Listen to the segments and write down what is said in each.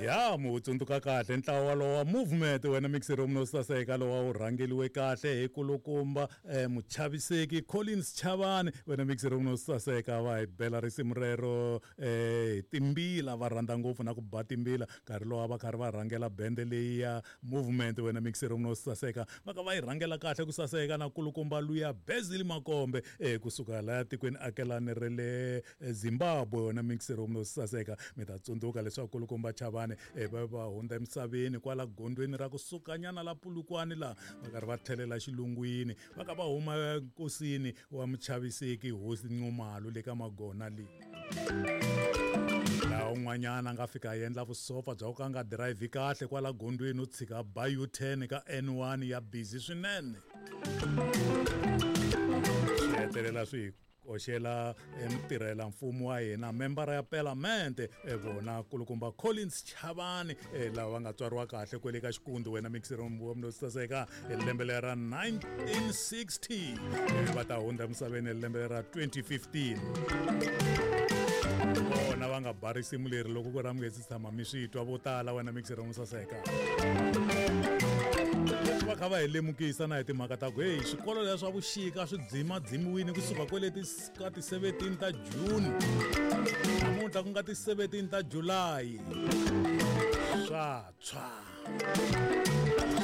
Ya mu tsundzuka kahle ntlawa walowo wa Movement wena mixero no saseka lowa wu rhangeliwe kahle hi kulukumba muchaviseki Collins Chavani wena mixero no saseka va hi bela risimu rero hi timbila va rhandza ngopfu na ku ba timbila nkarhi lowa va karhi va rhangela bende leyi ya Movement wena mixero no saseka va ka va yi rhangela kahle ku saseka na kulukumba luya Basil Makombe kusuka laya tikweni akelani ra le Zimbabwe wena mixero no saseka. Mi ta tsundzuka leswaku kulukumba Chavani va va hundza emisaveni kwala gondzweni ra kusukanyana la Polokwane laha va karhi va tlhelela xilungwini va ka va huma nkosini wa muchaviseki Hosi Nxumalo le ka Magona leyi. Laha un'wanyana a nga fika a endla vusofa bya ku ka nga dirayivhi kahle kwala gondzweni u tshika ba U-turn ka N1 ya busy swinene. Swi hetelela swi hi koxela mutirhela mfumo wa hina membara ya Palamende vona kulukumba Collins Chavani lava va nga tswariwa kahle kwele ka Xikundu wena mixero wa munhu saseka hi lembe leri ra 1960 ivi va ta hundza emisaveni hi lembe ra 2015. Vona va nga ba risimu leri loko ku ri a mi nge se tshama mi swi twa vo tala wena mixero mo saseka. Leswi va kha va hi lemukisa na hi timhaka ta ku heyi swikolo leswa vuxika swi dzimadzimiwile kusuka kwele ka ti-17 ta June namuntlha ku nga ti-17 ta July swa tshwa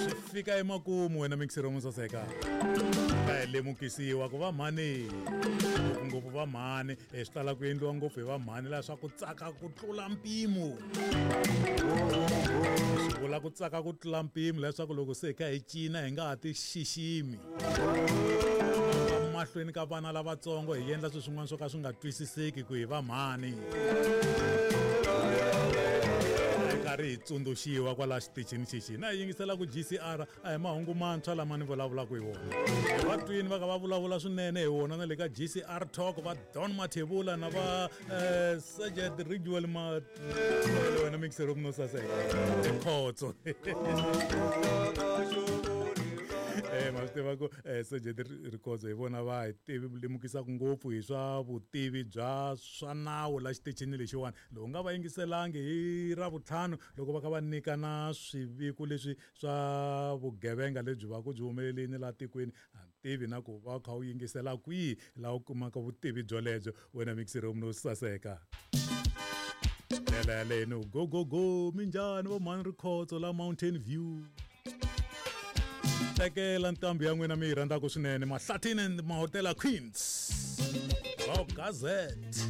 swi fika emakumu wena mixero mo saseka. Ka hi lemukisiwa ku va mhani ngopfungopfu va mhani swi tala ku endliwa ngopfu hi va mhani laha swa ku tsaka ku tlula mpimo. Swi vula ku tsaka ku tlula mpimo leswaku loko se hi kha hi cina hi nga ha ti xiximi mahlweni ka vana lavatsongo hi endla swilo swin'wana swo ka swi nga twisiseki ku hi va mhani. Hi karhi hi tsundzuxiwa kwala xitichini xixi na hi yingisela ku GCR a hi mahungu mantshwa lama ni vulavulaka hi wona. Va twini va kha va vulavula swinene hi wona na le ka GCR Talk va Don Mathebula na va Sergeant Ridgewell Mathebula wena mixero no saseka Khotso. Ma swi tiva ku Sergeant Rikhotso hi vona va hi tivi lemukisaka ngopfu hi swa vutivi bya swa nawu la xitichini lexiwani. Loko u nga va yingiselangi hi Ravutlhanu loko va kha va nyikana swiviko leswi swa vugevenga lebyi va ku byi humelelini laha tikweni a ni tivi na ku va kha u yingisela kwihi laha u kumaka vutivi byolebyo wena mixero no saseka. Ndlela yaleyo ni go go go minjhani vo mhani Rikhotso la Mountain View. Tekela ntambu ya n'wina mi yi rhandzaka swinene Mahlathini and Mahotela Queens. Va Gazette.